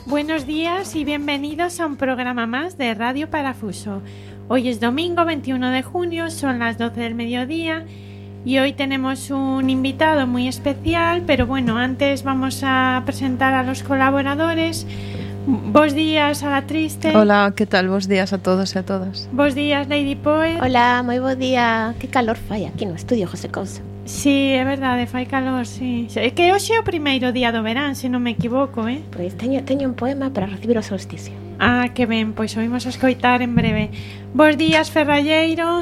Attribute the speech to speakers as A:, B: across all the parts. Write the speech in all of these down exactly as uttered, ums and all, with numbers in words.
A: Buenos días y bienvenidos a un programa más de Radio Parafuso. Hoy es domingo veintiuno de junio, son las doce del mediodía y hoy tenemos un invitado muy especial, pero bueno, antes vamos a presentar a los colaboradores. Bos días a la Triste.
B: Hola, ¿qué tal? Bos días a todos e a todas.
A: Bos días, Lady Poet.
C: Hola, moi bo día. Que calor fai aquí no estudio, José Couso.
A: Sí, é verdade, fai calor, sí. É que hoxe é o primeiro día do verán, se non me equivoco, eh?
C: Pois teño, teño un poema para recibir o solsticio.
A: Ah, que ben, pois oímos a escoitar en breve. Bos días, Ferralleiro.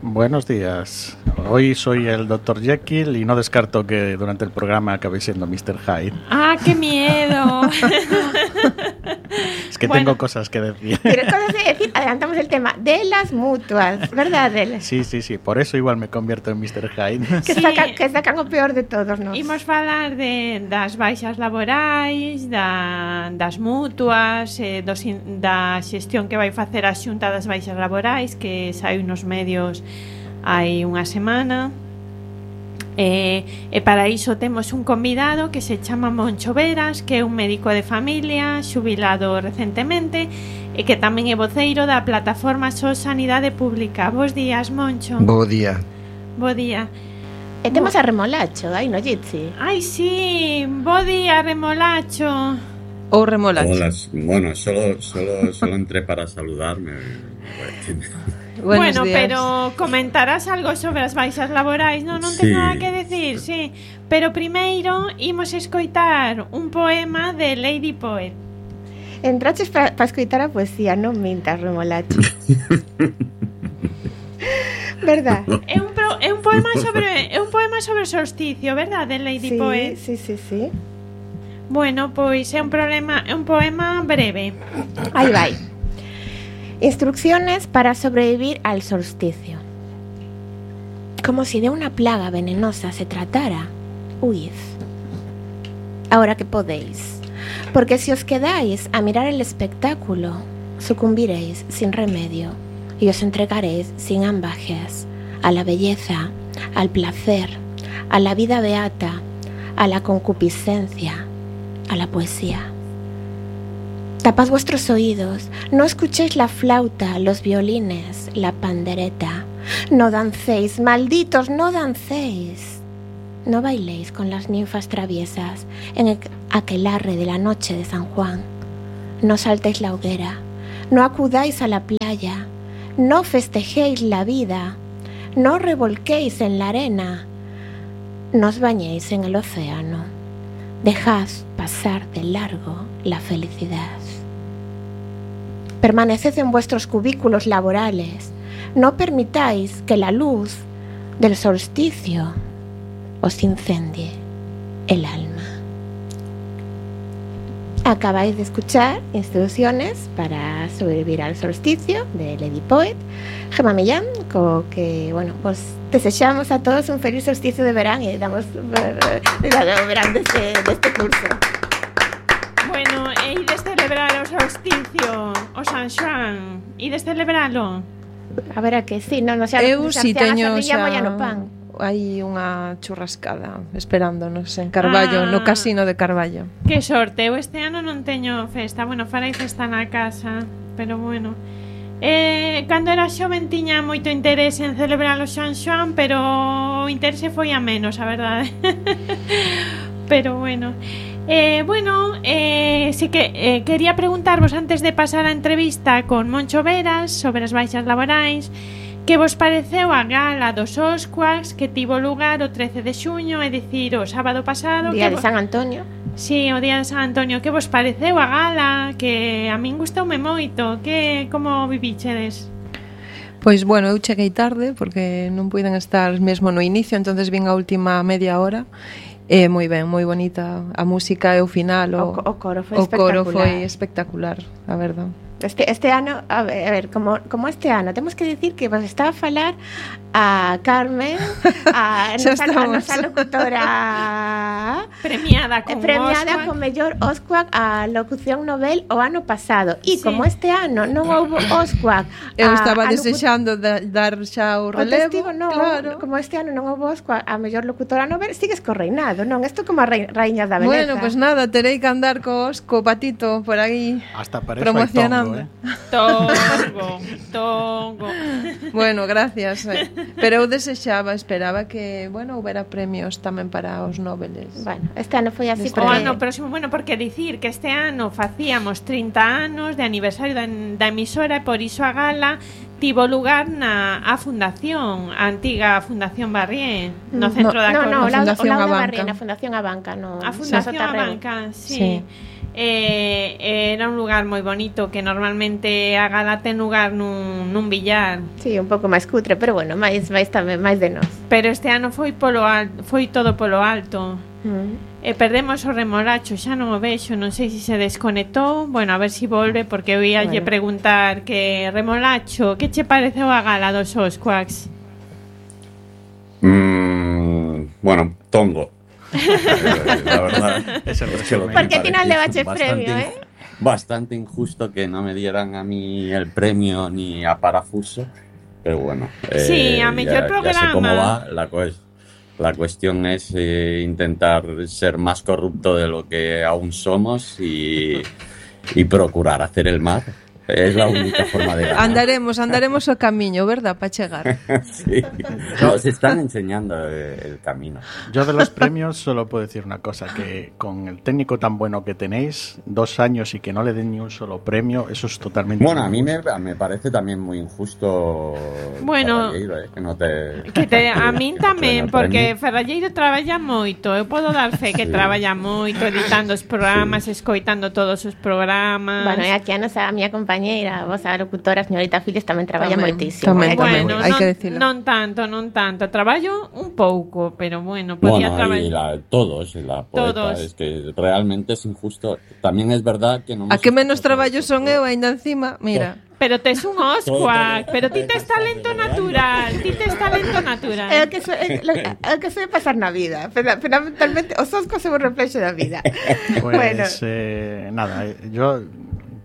D: Buenos días. Hoy soy el doctor Jekyll y no descarto que durante el programa acabe siendo mister Hyde.
A: ¡Ah, qué miedo!
D: Es que bueno, tengo cosas que decir.
C: Tienes cosas que decir. Adelantamos el tema de las mutuas, ¿verdad, Adela?
D: Sí, sí, sí. Por eso igual me convierto en mister Hyde.
C: Que, sí. sacan, que sacan o peor de todos, ¿no?
A: Imos falar de, das baixas laborais, da, das mutuas, eh, dos, da xestión que vai facer a Xunta das baixas laborais, que sai nos medios hai unha semana. E, e para iso temos un convidado que se chama Moncho Veras, que é un médico de familia xubilado recentemente e que tamén é voceiro da plataforma So Sanidade Pública. Bos días, Moncho.
E: Bo día.
A: Bo día.
C: E temos Bo... a Remolacho, aí no Jitsi.
A: Ai, sí, bo día, Remolacho.
B: Ou Remolacho.
F: Hola, bueno, solo, solo, solo entré para saludarme.
A: Buenos bueno, días. Pero comentarás algo sobre as baixas laborais, non? Non tens sí. nada que decir, sí. Pero primeiro imos escoitar un poema de Lady Poet.
C: Entraches para pa escoitar a poesía, non mintas, Remolacho. Verdad?
A: É un, pro, é un poema sobre é un poema sobre o solsticio, verdad, de Lady
C: sí,
A: Poet?
C: Sí, sí, sí.
A: Bueno, pois é un problema, é un poema breve.
C: Aí vai. Instrucciones para sobrevivir al solsticio. Como si de una plaga venenosa se tratara, huid. Ahora que podéis, porque si os quedáis a mirar el espectáculo, sucumbiréis sin remedio y os entregaréis sin ambajes a la belleza, al placer, a la vida beata, a la concupiscencia, a la poesía. Tapad vuestros oídos, no escuchéis la flauta, los violines, la pandereta. No dancéis, malditos, no dancéis. No bailéis con las ninfas traviesas en el aquelarre de la noche de San Juan. No saltéis la hoguera, no acudáis a la playa, no festejéis la vida, no revolquéis en la arena, no os bañéis en el océano. Dejad pasar de largo la felicidad. Permaneced en vuestros cubículos laborales. No permitáis que la luz del solsticio os incendie el alma. Acabáis de escuchar Instrucciones para sobrevivir al solsticio de Lady Poet, Gemma Millán, co que, bueno, pues desexamos a todos un feliz solsticio de verán e damos uh, o verán deste, deste curso.
A: Bueno, e de celebrar o solsticio, o San Xoán, e de celebralo.
C: A ver, a que sí, non, non xa
B: eu si teño
C: xa no pan.
B: Hai unha churrascada esperándonos en Carballo, ah, no casino de Carballo.
A: Que sorte, eu este ano non teño festa. Bueno, farei festa na casa, pero bueno. Eh, cando era xoven tiña moito interese en celebrar o San Xoán, pero o interese foi a menos, a verdade. Pero bueno. Eh, bueno, eh, sí que eh, quería preguntarvos antes de pasar a entrevista con Moncho Veras sobre as baixas laborais, que vos pareceu a gala dos Oscuas que tivo lugar o trece de xuño, é dicir, o sábado pasado,
C: Día
A: que
C: de San Antonio.
A: Sí, o Día de San Antonio. Que vos pareceu a gala? Que a min gustoume moito. Que como vivíchedes?
B: Pois, bueno, eu cheguei tarde porque non puiden estar mesmo no inicio, entonces vin a última media hora. É moi ben, moi bonita a música e o final, o,
C: o, o coro foi
B: o
C: espectacular.
B: coro foi espectacular, a verdade.
C: Este, este ano, a ver, a ver como, como este ano, temos que dicir que vos está a falar a Carmen, a nosa, a nosa locutora
A: premiada con
C: premiada
A: Oscar.
C: con mellor Oscar a locución novel o ano pasado. E
A: Sí.
C: como este ano non houve Oscar,
B: Eu
C: a-
B: estaba
C: a locu-
B: desexando da, dar xa o
C: O
B: relevo,
C: testigo non,
B: claro.
C: como este ano non houve Oscar a mellor locutora novel, sigues co reinado, non? Isto como a rei, raíñas da beleza.
B: Bueno, pues nada, terei que andar co, co patito por aí
D: Hasta para eso hay
B: promocionando.
D: tongo, ¿eh?
A: Tongo, tongo.
B: Bueno, gracias. eh. Pero eu desexaba, esperaba que, bueno, houbera premios tamén para os noveles.
C: Bueno, este ano foi así
B: Este
A: O
C: porque...
A: ano próximo, bueno, porque dicir que este ano facíamos trinta anos de aniversario da, da emisora e por iso a gala tivo lugar na a fundación, a antiga Fundación Barrié, no centro
B: No,
A: da
C: No,
A: Coruña.
C: no,
B: a
C: la, o
B: Fundación
C: lado da
B: Abanca.
C: Barriena, a Fundación Abanca, no.
A: A Fundación
C: Sotarreu.
A: Abanca, sí.
B: Sí.
A: Eh, era un lugar moi bonito que normalmente a gala ten lugar nun, nun billar,
C: Sí, un pouco máis cutre, pero bueno, máis máis tamén máis de nós.
A: pero este ano foi polo alto, foi todo polo alto.
C: Mm.
A: E perdemos o remolacho, xa non o vexo, non sei se se desconectou. Bueno, a ver se si volve, porque eu ia lle
C: Bueno.
A: preguntar que remolacho, que che pareceu a gala dos Osquaks?
F: Mm, bueno, tongo. Eh, la verdad
D: Es el
F: es que lo
D: resumen.
F: que
C: Porque
F: me
C: ti non
F: pareció
C: levaches
F: bastante
C: premio,
F: in-
C: eh?
F: Bastante injusto que no me dieran a mí el premio ni a Parafuso, pero bueno.
A: Sí, a mellor
F: ya sé cómo
A: programa.
F: va. La, cues- la cuestión es eh, intentar ser más corrupto de lo que aún somos y, y procurar hacer el mal. Es la única forma de ganar.
B: Andaremos, andaremos o camiño, verdad, para chegar.
F: Sí. Nos están enseñando eh, el camino.
D: Yo de los premios solo puedo decir una cosa, que con el técnico tan bueno que tenéis, dos años y que no le den ni un solo premio, eso es totalmente...
F: Bueno, a mí me, me parece también muy injusto.
A: Bueno,
F: Ferralleiro, eh, que no te,
A: Que te, a min
F: que no te den
A: tamén,
F: el
A: porque
F: premio.
A: Ferralleiro traballa moito. Eu podo dar fe que
F: Sí.
A: traballa moito, editando os programas, escoitando todos os programas.
C: Bueno, e aquí a nosa a miña compañeira, a vosa locutora, a señorita Files, tamén traballa
B: Tamén,
C: moitísimo.
B: tamén,
C: eh,
B: tamén.
A: Bueno,
B: hai
A: non,
B: que dicilo.
A: non tanto, non tanto. Traballo un pouco, pero bueno, podía
F: Bueno, y
A: traballar.
F: la, todos, y la poeta,
A: Todos.
F: es que realmente es injusto. También es verdad que no
B: A que menos traballo son eu aínda encima, mira.
A: Pero tes un Osquak, pero ti tes talento natural, ti tes talento
C: É
A: natural.
C: o que so, é, lo, é o que soe pasar na vida. Funda- Fundamentalmente, os oscos son un reflexo da vida.
D: Pues
C: Bueno.
D: eh, nada, eh, yo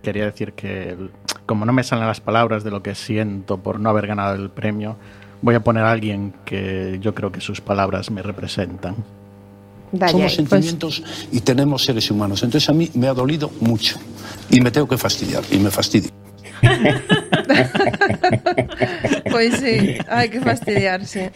D: quería decir que el- como no me salen las palabras de lo que siento por no haber ganado el premio, voy a poner a alguien que yo creo que sus palabras me representan.
C: Dalle
E: Somos
C: aí.
E: sentimientos y tenemos seres humanos. Entonces a mí me ha dolido mucho y me tengo que fastidiar y me fastidio.
B: Pois sí, hai que fastidiarse.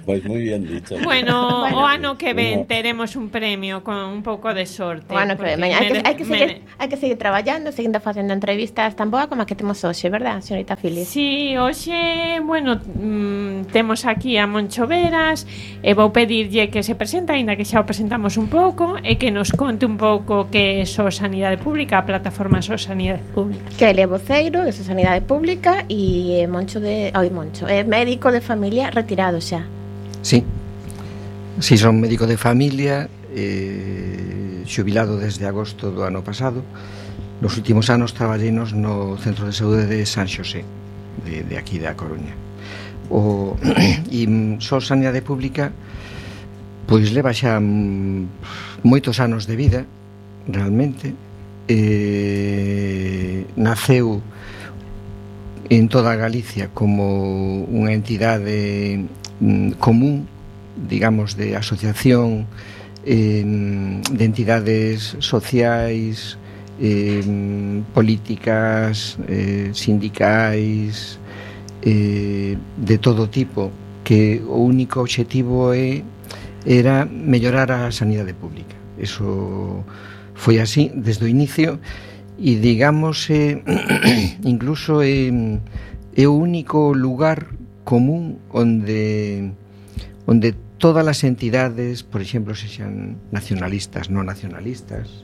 F: Pues muy bien dicho.
A: Bueno,
C: Bueno.
A: o ano que ven
F: Bueno.
A: teremos un premio con un pouco de sorte.
C: O ano que
A: porque
C: ven, maña. Hai que,
A: mere-
C: hai que, seguir,
A: mere-
C: hai que seguir traballando, seguindo facendo entrevistas tan boa como a que temos hoxe, verdad, señorita Filis?
A: Sí, hoxe, bueno, mm, temos aquí a Moncho Veras e vou pedirlle que se presenta, aínda que xa o presentamos un pouco, e que nos conte un pouco que é So Sanidade Pública, a plataforma So Sanidade Pública.
C: Que ele é voceiro de Sanidade Pública e é Moncho de... Oi, Moncho, é médico de familia retirado xa.
G: Sí, sí, son médico de familia, eh, xubilado desde agosto do ano pasado. Nos últimos anos traballeinos no Centro de Saúde de San Xosé, de, de aquí da Coruña. O, e só Sanidade Pública pois leva xa mm, moitos anos de vida, realmente. Eh, naceu en toda Galicia como unha entidade mm, común, digamos, de asociación eh, de entidades sociais, eh, políticas, eh, sindicais, eh, de todo tipo, que o único obxectivo é, era mellorar a sanidade pública. Eso foi así desde o inicio e digamos eh, incluso é, é o único lugar común onde onde todas as entidades, por exemplo, sexan nacionalistas, non nacionalistas,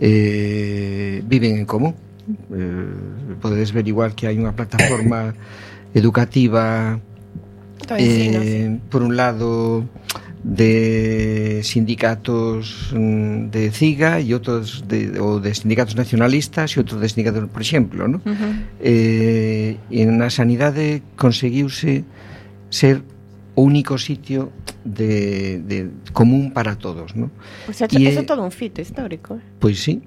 G: eh, viven en común. Eh, podedes ver igual que hai unha plataforma educativa,
B: Ensino,
G: eh, por un lado de sindicatos de C I G A e outros de, ou de sindicatos nacionalistas e outros de sindicatos, por exemplo, ¿no? Uh-huh. eh, e na sanidade conseguiuse ser o único sitio de, de común para todos, ¿no?
C: Pues eso, eso é todo un fito histórico.
G: Pois sí,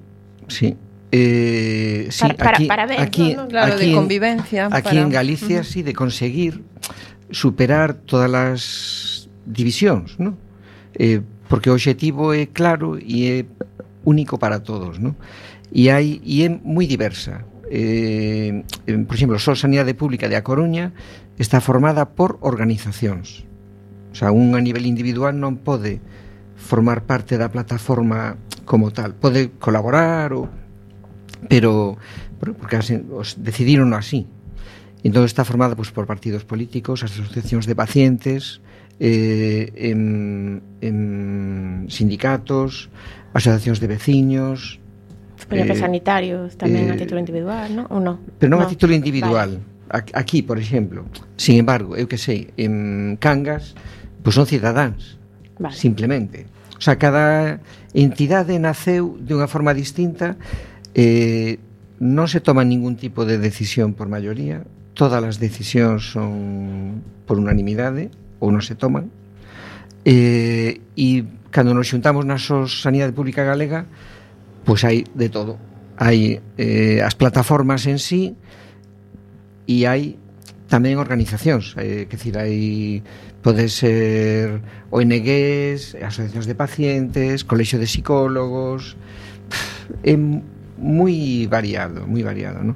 G: sí. Eh, sí,
C: para,
G: aquí,
C: para, para ver,
G: aquí,
B: ¿no? Claro,
G: aquí
B: de convivencia.
G: En, aquí
B: para...
G: en Galicia, uh-huh. sí, de conseguir superar todas as divisións, ¿no? Eh, porque o obxectivo é claro e é único para todos, ¿no? E hai e é moi diversa. Eh, por exemplo, só Sanidade Pública de A Coruña está formada por organizacións. O sea, un a nivel individual non pode formar parte da plataforma como tal. Pode colaborar ou pero porque os decidiron así. Entón está formada pues, por partidos políticos, asociacións de pacientes, eh, en, en sindicatos, asociacións de veciños.
C: Pero eh, que sanitarios tamén eh, a título individual, ¿no? Ou non?
G: Pero non
C: no.
G: a título individual. Vale. Aquí, por exemplo, sin embargo, eu que sei, en Cangas, pues son cidadáns, vale. Simplemente. O sea, cada entidade naceu de unha forma distinta, eh, non se toma ningún tipo de decisión por maioría, todas as decisións son por unanimidade ou non se toman, eh, e cando nos xuntamos na Sanidade Pública Galega, pois hai de todo. Hai eh, as plataformas en sí e hai tamén organizacións, eh, que decir, hai pode ser O N Gs, asociacións de pacientes, colexio de psicólogos, é moi variado, moi variado, ¿no?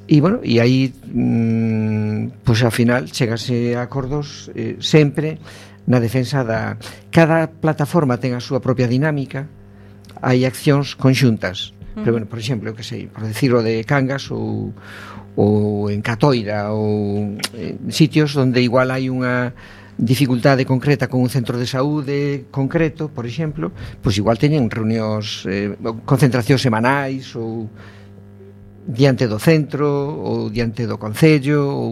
G: E, bueno, e aí mmm, pois ao final chegase a acordos eh, sempre na defensa da... Cada plataforma ten a súa propia dinámica, hai accións conxuntas, uh-huh. Pero, bueno, por exemplo, eu que sei, por decirlo de Cangas ou, ou en Catoira ou en sitios onde igual hai unha dificultade concreta con un centro de saúde concreto, por exemplo, pois igual teñen reunións, eh, concentracións semanais ou diante do centro ou diante do concello ou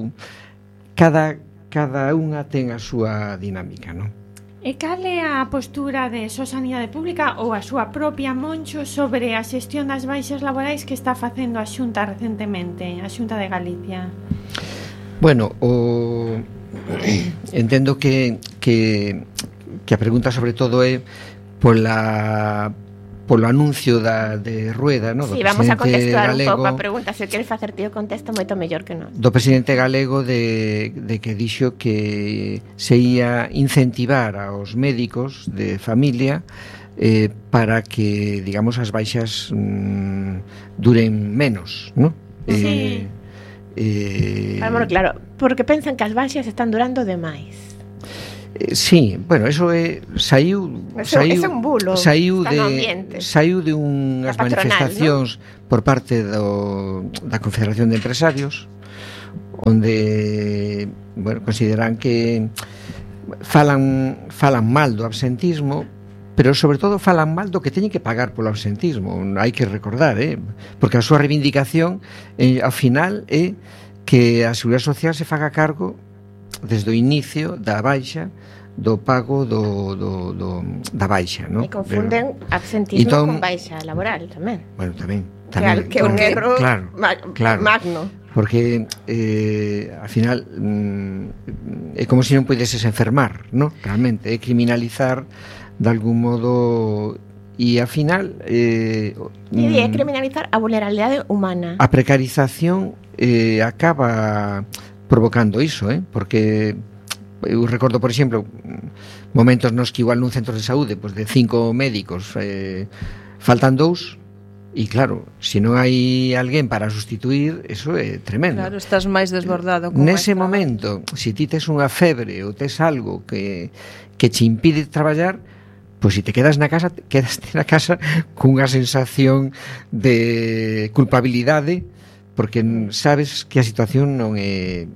G: cada, cada unha ten a súa dinámica, non?
A: E cal é a postura de Só Sanidade Pública ou a súa propia Moncho sobre a xestión das baixas laborais que está facendo a Xunta recentemente, a Xunta de Galicia?
G: Bueno, o... entendo que, que, que a pregunta sobre todo é pola polo anuncio da, de Rueda, no?
C: Sí, vamos a contestar galego, un pouco a pregunta. Se queres facer tío contesta moito mellor que non.
G: Do presidente galego de, de que dixo que se ia incentivar aos médicos de familia eh, para que, digamos, as baixas mm, duren menos, ¿no?
C: Sí.
G: Eh, eh,
C: bueno, claro, porque pensan que as baixas están durando demais.
G: Sí, bueno, eso é saiu
C: eso,
G: saiu,
C: é un bulo,
G: saiu de saiu de unhas manifestacións, ¿no? Por parte do, da Confederación de Empresarios, onde, bueno, consideran que falan falan mal do absentismo, pero sobre todo falan mal do que teñen que pagar polo absentismo. Hai que recordar, eh, porque a súa reivindicación eh, ao final é que a Seguridade Social se faga cargo desde o inicio da baixa do pago do, do, do, da baixa, ¿no?
C: E confunden pero, absentismo entón, con baixa laboral tamén.
G: Bueno, tamén, tamén
C: que é un erro
G: claro,
C: ma-
G: claro,
C: magno.
G: Porque eh, al final mm, é como se non pudeses enfermar, ¿no? Realmente é criminalizar de algún modo e al final eh,
C: e é criminalizar a vulnerabilidade humana.
G: A precarización eh, acaba provocando iso, eh? Porque eu recordo, por exemplo, momentos nos que igual nun centro de saúde, pues de cinco médicos eh, faltan dous, e claro, se non hai alguén para sustituir, eso é tremendo.
B: Claro, estás máis desbordado.
G: Nese momento, se ti tes unha febre ou tes algo que, que te impide traballar, pois se te quedas na casa, quedaste na casa cunha sensación de culpabilidade, porque sabes que a situación non é...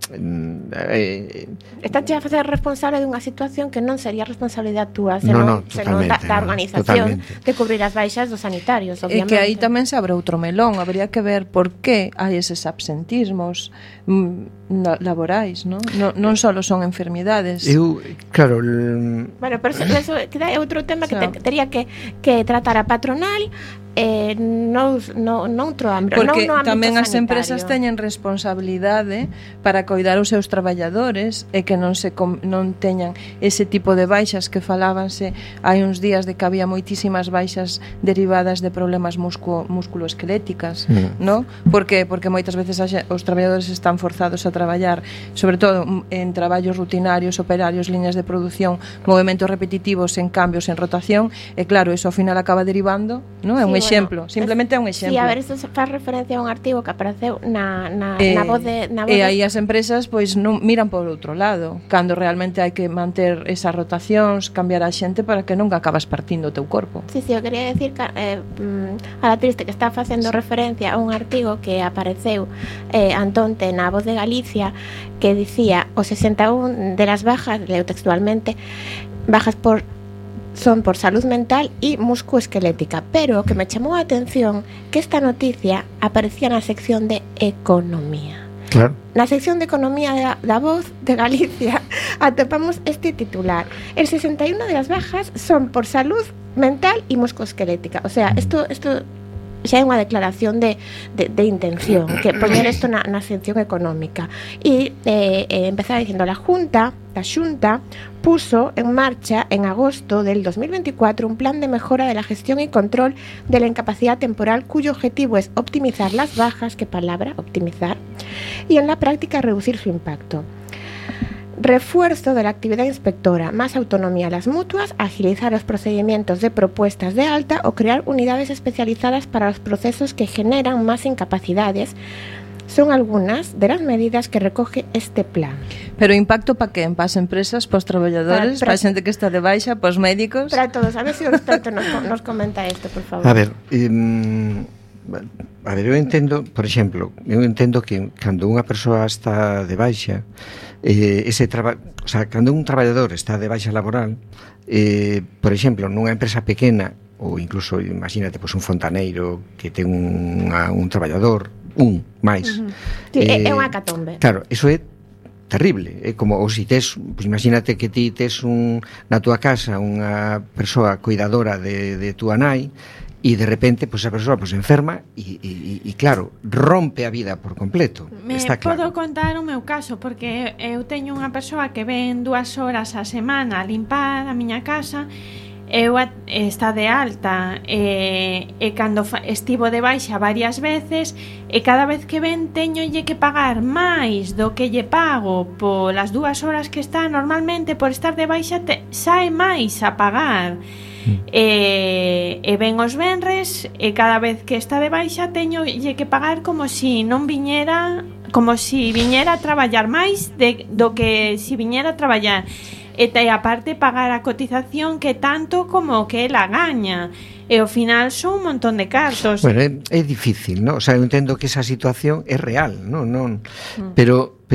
G: é
C: Estás a facer responsable dunha situación que non sería responsabilidade túa, senón,
G: no, no,
C: senón da, da organización
G: totalmente.
C: de cubrir as baixas dos sanitarios,
B: E
C: obviamente.
B: que aí tamén se abre outro melón, habría que ver por que hai eses absentismos mm, laborais, non? Non, non só son enfermidades.
G: Eu, claro... l-
C: Bueno, pero eso, eso queda é outro tema que,
B: Xa.
C: te, que tería que, que tratar a patronal eh, no, no, noutro ámbito,
B: Porque
C: non no ámbito
B: tamén as
C: sanitario.
B: empresas teñen responsabilidade para coidar os seus traballadores e que non se com, non teñan ese tipo de baixas que falábanse hai uns días de que había moitísimas baixas derivadas de problemas muscu, musculoesqueléticas,
G: Mm.
B: ¿no? Por que? Porque moitas veces a xe- os traballadores están forzados a traballar, sobre todo mm, en traballos rutinarios, operarios, liñas de produción, movementos repetitivos en cambios, en rotación, e claro, eso ao final acaba derivando, ¿no? É un
C: Sí,
B: exemplo,
C: bueno,
B: simplemente é un
C: Sí,
B: exemplo.
C: a ver, isto faz referencia a un artigo que apareceu na, na,
B: Eh,
C: na voz de... Na voz
B: e
C: de-
B: aí as empresas pois non miran por outro lado, cando realmente hai que manter esas rotacións, cambiar a xente para que nunca acabas partindo o teu corpo.
C: Sí, sí, eu quería decir que eh, mm, a la triste que está facendo referencia a un artigo que apareceu eh, antonte na Voz de Galicia que dicía o sesenta e un de las bajas, leo textualmente, bajas por son por salud mental y musculoesquelética, pero que me chamou a atención que esta noticia aparecía na sección de economía.
G: Claro.
C: Na sección de economía da, da Voz de Galicia atopamos este titular: el sesenta y uno de las bajas son por salud mental y musculoesquelética. O sea, esto esto xa é unha declaración de, de, de intención, que poñer isto na, na sección económica. E eh, eh, empezaba dicindo, la Junta, la Xunta, puso en marcha en agosto del dos mil veinticuatro un plan de mejora de la gestión y control de la incapacidad temporal cuyo objetivo es optimizar las bajas, qué palabra, optimizar, y en la práctica reducir su impacto. Refuerzo de la actividad inspectora, más autonomía a las mutuas, agilizar los procedimientos de propuestas de alta o crear unidades especializadas para los procesos que generan más incapacidades son algunas de las medidas que recoge este plan.
B: Pero impacto pa que? Pa as empresas, pa os traballadores,
C: Para- para-
B: pa a xente que está de baixa, pa os médicos?
C: Para todos, a ver si un experto nos, nos comenta esto, por favor.
G: A ver, eh, a ver, eu entendo, por exemplo, eu entendo que cando unha persoa está de baixa, eh, ese traba, o sea, cando un traballador está de baixa laboral, eh, por exemplo, nunha empresa pequena, ou incluso, imagínate, pois, un fontaneiro que ten unha, un traballador, un máis.
C: Uh-huh. Sí, é, é unha catombe.
G: Claro, iso é terrible, é como ou si tes, pois imagínate que ti tes un na túa casa unha persoa cuidadora de, de túa nai e de repente pois a persoa pois enferma e, e, e claro, rompe a vida por completo.
A: Me
G: Está claro.
A: podo contar o meu caso, porque eu teño unha persoa que ven dúas horas a semana a limpar a miña casa. Eu a, está de alta e, e cando fa, estivo de baixa varias veces e cada vez que ven teñolle que pagar máis do que lle pago polas dúas horas que está normalmente por estar de baixa te, sae máis a pagar mm. e, e ven os venres e cada vez que está de baixa teñolle que pagar como si non viñera como si viñera a traballar máis de, do que si viñera a traballar. E te aparte pagar a cotización que tanto como que ela gaña. E ao final son un montón de cartos.
G: Bueno, é, é difícil, ¿no? O sea, eu entendo que esa situación é real, non, non, pero